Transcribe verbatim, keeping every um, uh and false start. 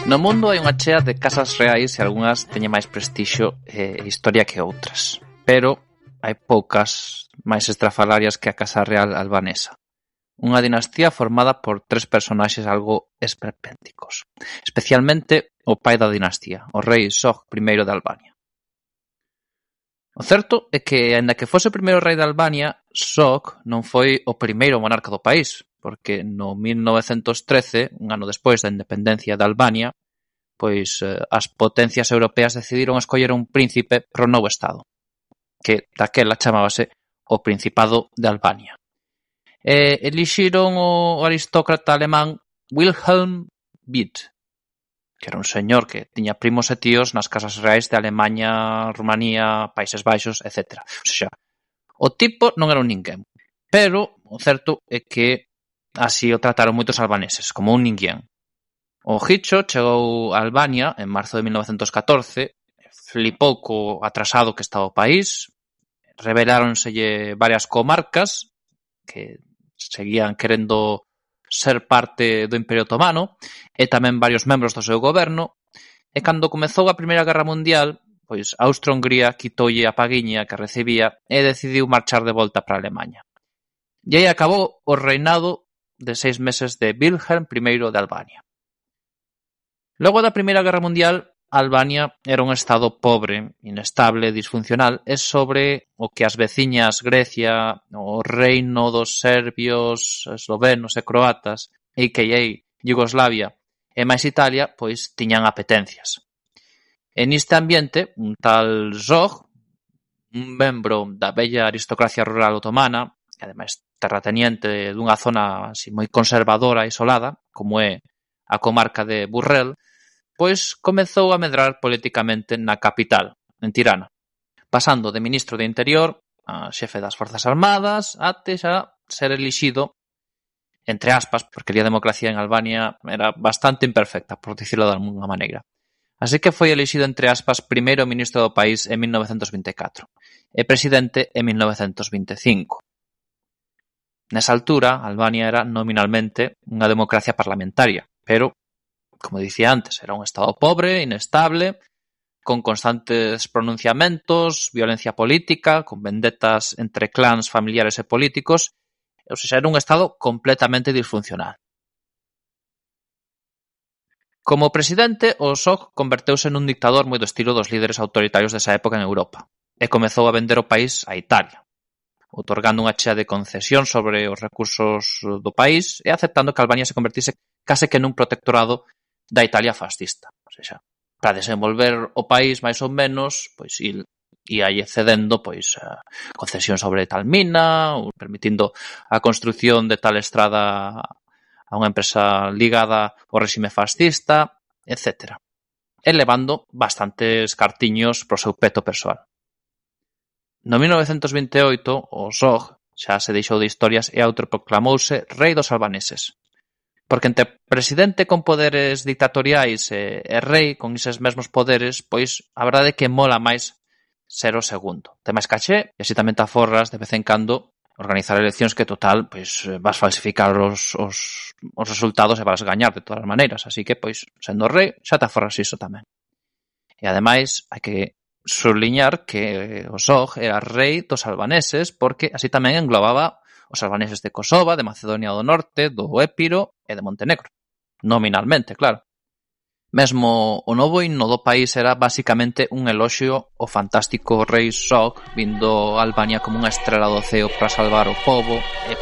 No mundo hai unha chea de casas reais e algunhas teñen máis prestixio e historia que outras, pero hai poucas máis estrafalarias que a Casa Real albanesa. Unha dinastía formada por tres personaxes algo esperpénticos, especialmente o pai da dinastía, o rei Zog primeiro de Albania. O certo é que, aínda que fose o primeiro rei de Albania, Zog non foi o primeiro monarca do país, porque no mil novecentos trece, un ano despois da independencia de Albania, pois eh, as potencias europeas decidiron escoller un príncipe para o novo estado, que daquela chamábase o Principado de Albania. E elixiron o aristócrata alemán Wilhelm Wied, que era un señor que tiña primos e tíos nas casas reais de Alemaña, Rumanía, Países Baixos, etcétera. O sea, o tipo non era un ninguén, pero o certo é que así o trataron moitos albaneses, como un ninguén. O Hicho chegou a Albania en marzo de mil novecentos catorce, flipou co atrasado que estaba o país, reveláronselle varias comarcas que seguían querendo ser parte do Imperio Otomano e tamén varios membros do seu goberno, e cando comezou a Primeira Guerra Mundial, pois Austro-Hungría quitoulle a paguiña que recibía e decidiu marchar de volta para Alemaña. E aí acabou o reinado de seis meses de Wilhelm primeiro de Albania. Logo da Primeira Guerra Mundial, Albania era un estado pobre, inestable, disfuncional, e sobre o que as veciñas Grecia, o reino dos serbios, eslovenos e croatas, a k a. Yugoslavia e máis Italia, pois tiñan apetencias. En este ambiente, un tal Zog, un membro da bella aristocracia rural otomana, e ademais terrateniente dunha zona así moi conservadora e isolada, como é a comarca de Burrell, pois comezou a medrar politicamente na capital, en Tirana, pasando de ministro de Interior a xefe das Forzas Armadas até xa ser elixido, entre aspas, porque a democracia en Albania era bastante imperfecta, por dicirlo de alguna maneira. Así que foi elixido, entre aspas, primeiro ministro do país en mil novecentos vinte e catro e presidente en mil novecentos vinte e cinco. Nesa altura, Albania era nominalmente unha democracia parlamentaria, pero como dicía antes, era un estado pobre, inestable, con constantes pronunciamentos, violencia política, con vendetas entre clans familiares e políticos, ou seja, era un estado completamente disfuncional. Como presidente, o Zog converteuse nun dictador moi do estilo dos líderes autoritarios desa época en Europa, e comezou a vender o país a Italia, otorgando unha chea de concesión sobre os recursos do país e aceptando que Albania se convertise case que nun protectorado da Italia fascista. O sea, para desenvolver o país máis ou menos, pois il ia cedendo pois a concesión sobre tal mina, ou permitindo a construción de tal estrada a unha empresa ligada ao réxime fascista, etcétera. E levando bastantes cartiños pro seu peto persoal. No mil novecentos vinte e oito, o Zog xa se deixou de historias e autoproclamouse rei dos albaneses. Porque entre presidente con poderes dictatoriais e, e rei con eses mesmos poderes, pois a verdade é que mola máis ser o segundo. Ten máis caché e así tamén te aforras de vez en cando organizar eleccións que total pois vas falsificar os, os, os resultados e vas gañar de todas as maneiras. Así que, pois, sendo rei, xa te aforras iso tamén. E ademais, hai que subliñar que o Zog era rei dos albaneses porque así tamén englobaba os albaneses de Kosova, de Macedonia do Norte, do Épiro e de Montenegro. Nominalmente, claro. Mesmo o novo himno do país era basicamente un eloxio ao fantástico rei Zog vindo a Albania como unha estrela do ceo para salvar o pobo e